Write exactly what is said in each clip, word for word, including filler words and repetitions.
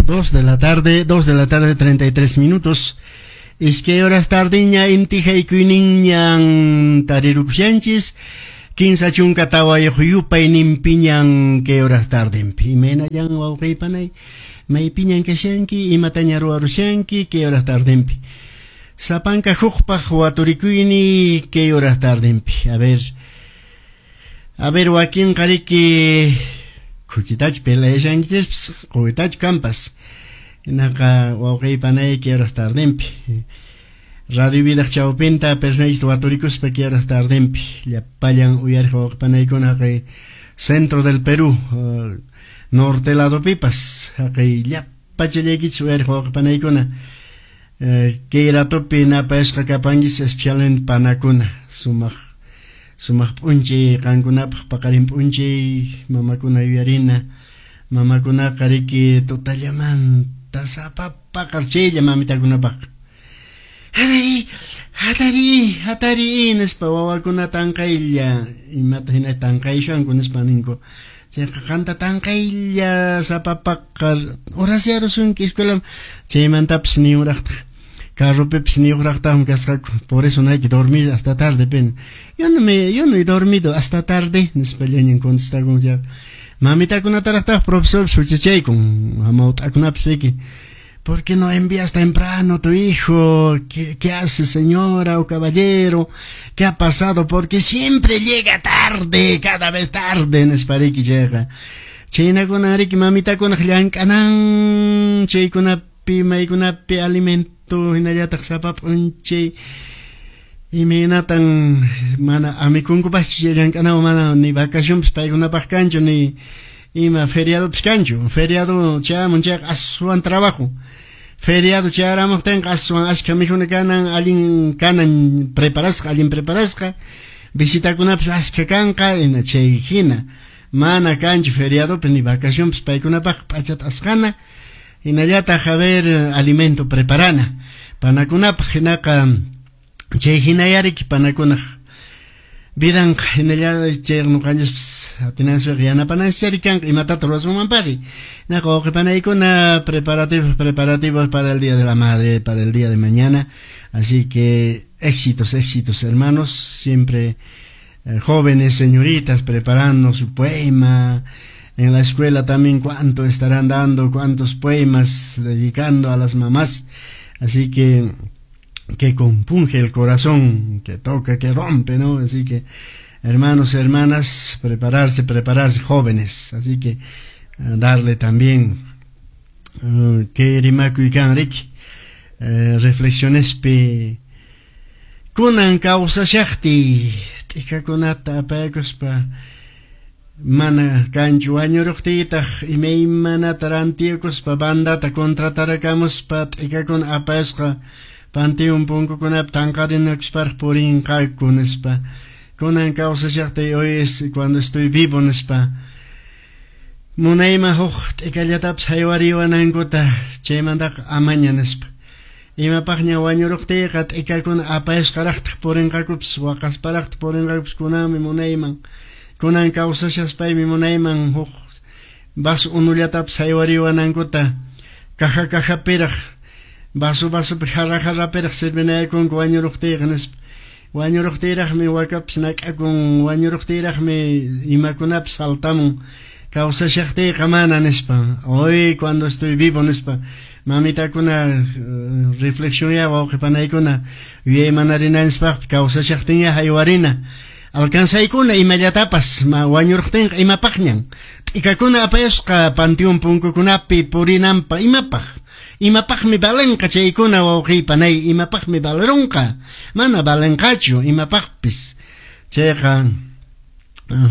Dos de la tarde, dos de la tarde, treinta y tres minutos. Iskay horas tardiña inti haykuyninñan tarirukushanchis. Kinsa chunka tawayuq yupayninpiñan kay horas tardinpi. Imaynallan wawqiypanay, maypiñan kashanki, imataña ruwarushanki kay horas tardinpi. Sapanka hukpaq waturikuyni kay horas tardinpi. A ver, a ver wakinqa riki khuchitachu peleashankichis, quwitachu kampas. Hinaqa wawqiypanay kay horas tardinpi. Radio Vidaq chawpinta personaykita waturikuspa kay horas tardinpi. Llapallan uyariq wawqipanaykuna haqay centro del Perú, uh, norte ladopipas haqay llapachallaykichis uyariq wawqipanaykuna. Uh, kay ratopi napayasqa kapanchis especialmente panakuna sumaq sumaq p'unchay qankunapaq paqarin p'unchay mamakuna yuyarina. Mamakunaqa riki tutallamanta sapa paqar chaylla mamitakunapaq. Hatari, hatari, hatari nispa wawakuna tanqaylla imata hina tanqayshanku nispa ninku. Chayqa qanta tanqaylla sapa paqar horasyarusunki escuela chaymantapas niyuraqtaq. Carropipis niyuqraqtaqmi kasqaku. Por eso no hay que dormir hasta tarde, pen. Yo no me, yo no he dormido hasta tarde, nispa llañan contestakun ya. Mamitakunataraqtaq profesor huchachaykun, hamawt'akunapis riki. ¿Por qué no envías temprano tu hijo? ¿Qué, qué hace, señora o caballero? ¿Qué ha pasado? Porque siempre llega tarde, cada vez tarde, nispa riki chayqa. Chaynakuna riki mamitakunaq llank'anan, chaykunapi, maykunapi alimento hinallataq sapa p'unchay imaynatan mana amikunkupaschu chay llank'anawan mana ni vacacionpis paykunapaq kanchu ni ima feriadopis kanchu. Feriado chayamun chayqa aswan trabajo. Feriado chayaramuqtinqa aswan ashka mikhuna kanan, allin kanan preparasqa, allin preparasqa. Visitakunapis ashka kanqa, ina chay hina. Mana kanchu feriadopis ni vacacionpis paykunapaq p'achata asqana. Hinallataq a ver alimento preparana. Panakunapaq hinaqa chay hinayariki panakunaq vidanqa hinalla chay ñuqanchispis atinanchikqa yanapananchik kanqa imatata ruwasunmanpari. Hinaqa wawqipanaykuna preparativos, preparativos para el Día de la Madre, para el día de mañana. Así que éxitos, éxitos hermanos, siempre eh, jóvenes, señoritas preparando su poema. En la escuela también cuánto estarán dando, cuántos poemas dedicando a las mamás. Así que que compunge el corazón, que toca, que rompe, ¿no? Así que, hermanos, hermanas, prepararse, prepararse, jóvenes. Así que, eh, darle también, uh, que rimakuy kan riki, eh, reflexionespi, kunan kawsashaqti, t'ikakunata apaykuspa, mana kanchu wañuruqtiytaq imaymanata rantiykuspa bandata contratarakamuspa t'ikakuna apayasqa panteón punkukunapi tanqarinakusparaq purinqaku nispa. Kunan kawsashaqtay hoy es cuando estoy vivo nispa. Munayman huk t'ikallatapis haywariwanankuta chaymantaqa amaña nispa. Imapaqña wañuruqtiyqa t'ikakuna apayasqaraqtaq purinqakupis waqasparaqtaq purinqakupis kunanmi munayman. Kunan kawsashaspaymi munayman huk vaso unullatapis haywariwanankuta caja cajapiraq vaso vasopi jarra jarrapiraq sirvinayakunku wañuruqtiyqa nispa. Wañuruqtiyraqmi wakapis nak'akun, wañuruqtiyraqmi imakunapis saltamun. Kawsashaqtiyqa mana nispa. Hoy cuando estoy vivo nispa. Mamitakuna uh, reflexión wawqipanaykuna yuyaymanarinanchispa kawsashaqtiña haywarina. Alcanzaykuna imallatapas ma wañuruqtinqa imapaqñan. T'ikakuna apayasqa panteón punkukunapi purinanpa imapaq. Imapaqmi valenqa chaykuna wawqiypanay, imapaqmi valerunqa. Mana valenqachu imapaqpis. Chayqa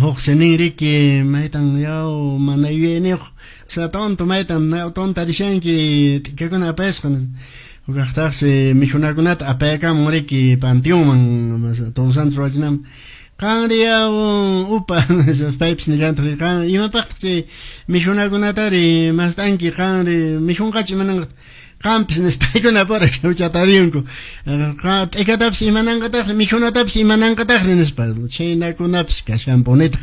huk sinin riki maytan yaw mana yuyayniyuq, o sea tonto maytan tonta rishanki t'ikakuna apayasqa. Hukaqtaqsi mikhunakunata apayakamun riki panteonman Todos Santos ruwachinanpaq. Qanri yaw upa paypis nillantaq qan imapaqtaq chay mikhunakunatari mast'anki qanri mikhunqachu imananqataq qampis nispaykuna pura huchatariyunku. T'ikatapis imananqataqri mikhunatapis imananqataqri nispa chaynakunapis kashanpunitaq.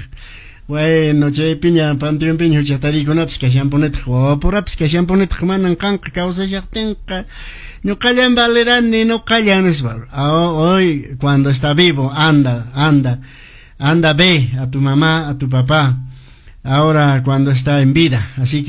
Bueno, chaypiña panteonpiña huchatariykunapis kashanpunitaq, wawapurapis kashanpunitaq, manan qanqa kawsashaqtinqa ñuqallan valerani, ñuqallan nispa. Hoy cuando está vivo, anda, anda, anda, ve a tu mamá, a tu papá, ahora cuando está en vida. Así que